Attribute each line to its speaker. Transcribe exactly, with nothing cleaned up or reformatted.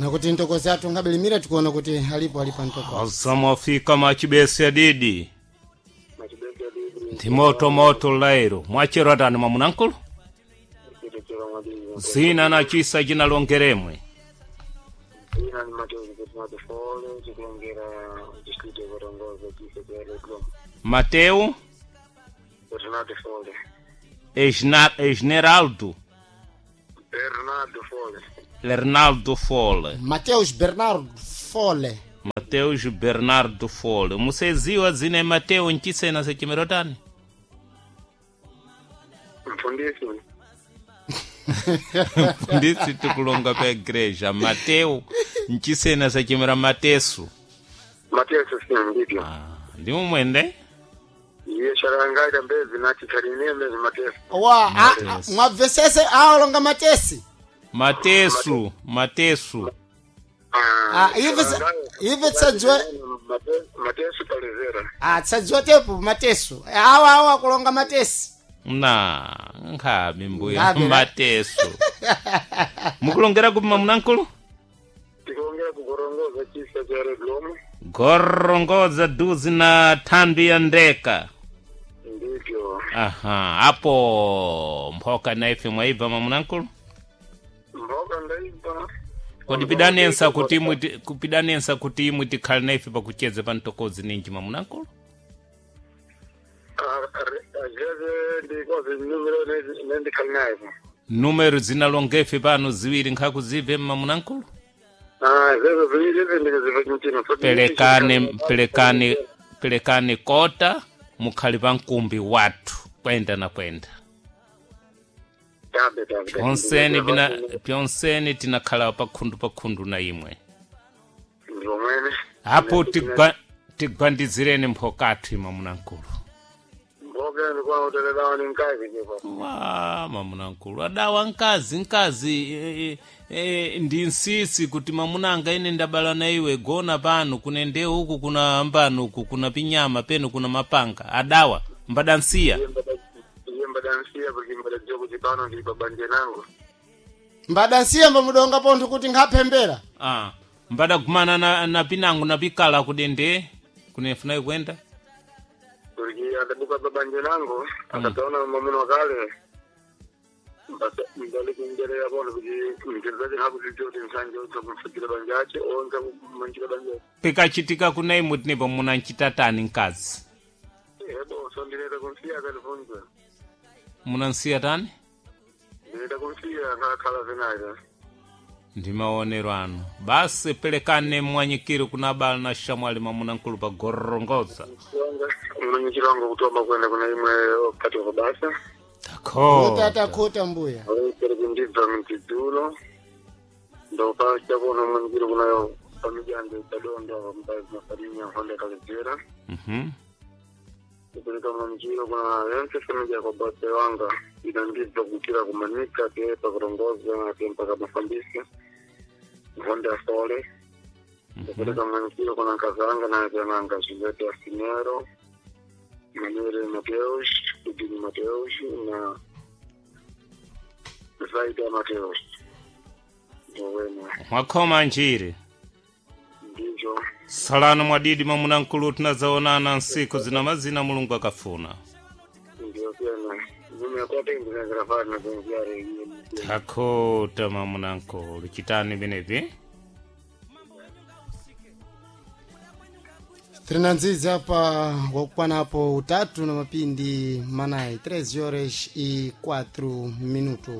Speaker 1: Nakuti ntokozi athu ngabilimira tikuona kuti alipo alipo ntokozi.
Speaker 2: Azamwafika machibesi adidi.
Speaker 3: Machibesi adidi.
Speaker 2: Ndi moto moto lairo. Mwachero atani mwamunankulu?
Speaker 3: Chitechero mwadidi.
Speaker 2: Zina na chisa chinalongeremwe.
Speaker 3: Zina ni Mateus Bernardo Fole, chikulongera distrito ya Gorongosa, chisa cha Retro.
Speaker 2: Mateu
Speaker 3: Bernardo Fole.
Speaker 2: Esna- Esneraldo.
Speaker 3: Bernardo Fole.
Speaker 2: Lernaldo Fole.
Speaker 1: Mateus Bernardo Fole.
Speaker 2: Mateus Bernardo Fole. Museziwa zina ya Mateu nchisena sechimerotani?
Speaker 3: Mfundisi.
Speaker 2: Ndisi tikulonga pa igreja. Mateu nchisena sechimera Matesu.
Speaker 3: Mateus si ndivyo.
Speaker 2: Ah, ndi mumwende?
Speaker 3: Iye sharangaita mbezi nachi chaline mbezi Mateus.
Speaker 1: Wa a- a-
Speaker 2: Mateus.
Speaker 1: mwabvesese aolonga matesi.
Speaker 2: Matesu, Matesu.
Speaker 1: Ah, ive sa- ive tsadziwa
Speaker 3: Mateus Palezera.
Speaker 1: ah tsadziwa tepo matesu. Awa awa kulonga matesi.
Speaker 2: Na, nkhabe mbuya
Speaker 1: Nkhabe, na.
Speaker 2: Matesu. Mukulongera kupi mamunankulu?
Speaker 3: Tikulongera kugorongoza chisa cha Redlomo.
Speaker 2: Gorongoza duzi na thambi ya ndeka.
Speaker 3: Ndivyo.
Speaker 2: Aha, apo mphoka na ife mwaibva mamunankulu?
Speaker 3: Mboga ndaipa.
Speaker 2: Kodi pidanensa kuti imwe ti- kupidanensa kuti imwe tikhale na ife pakucheza pa mtokozi ninji mamunankulu?
Speaker 3: Azeze ndikoze numero nendikhali nayo.
Speaker 2: Numero zinalongefe pano ziwiri nkhakuzibve mamunankulu?
Speaker 3: Ah, zezo ziwiri izi ndikuziva mchino.
Speaker 2: Pelekane pelekane pelekane kota mukhali pa mkumbi wathu kwenda na kwenda.
Speaker 3: Tabe tabe.
Speaker 2: Pyonseni bina pyonseni tinakhala pakhundu pakhundu na imwe.
Speaker 3: Ndivomwene.
Speaker 2: Apo tigwa tigwandizireni mphokathu mamunankulu.
Speaker 3: Mboga ndikuwa utelelawa ni mkazi kipo.
Speaker 2: Wa mamunankulu adawa nkazi nkazi e, e, ndi nsisi kuti mamunanga ine ndabala na iwe gona pano kune ndewu uku kuna ambano uku kuna pinyama penu kuna mapanga adawa mbadansiya
Speaker 3: Iye mbadansiya porque mbadadziwa kuti pano ndili pabanja nango.
Speaker 1: Mbadansiya mbamudonga pontho kuti nkhapembera.
Speaker 2: ah, mbadagumana na, na pinango na pikala kudende kunefuna kwenda
Speaker 3: Porque adabuka pabanja nango akataona mwamuna wakale. Mbali kungerera pano kuti mchezaji hakuzidziwa kuti msanje onza kumfikira banja ache onza kumanjira banja ache.
Speaker 2: pikachitika kuna imwe tinepo munanchitatani nkazi
Speaker 3: Ebo so ndineta kumsiya akatifunza.
Speaker 2: munansiya tani
Speaker 3: Ndineta kumsiya akakhala venayo.
Speaker 2: ndi maonero anu basi pelekane mwanyikiro kuna abala na shamwali mamunankulu pa gorongoza
Speaker 3: Mwenyekiti wangu kutoma kwenda kuna imwe wakati wa basa.
Speaker 1: Kota
Speaker 2: takho
Speaker 1: takota mbuya.
Speaker 3: Awekere kundibva mutidzulo ndopachakona mwenyekiti kunayo pamijando itadonda mbazi mafarinya honda kaledzera
Speaker 2: Mhm.
Speaker 3: kupereka mwenyekiti kuna yense familia kwa basa wanga inandibva kutira kumanika te pakurongoza te mpaka mafambisi honda sole kupereka mwenyekiti kuna nkazanga na tyananga Julieta Asinero Manuel Mateus Kudini Mateus na Zaida Mateus ndowena
Speaker 2: mwakhoma njiri
Speaker 3: ndivyo
Speaker 2: salano mwadidi mamunankulu tinazaonana nsiku zina mazina mulungu akafuna
Speaker 3: ndio tena mimi akote ndinazirafana zenziare
Speaker 2: takhota mamunankulu chitani vinevi
Speaker 1: Trinanzizi apa wakukwana apo utatu na mapindi manayi três horas e quatro minutos.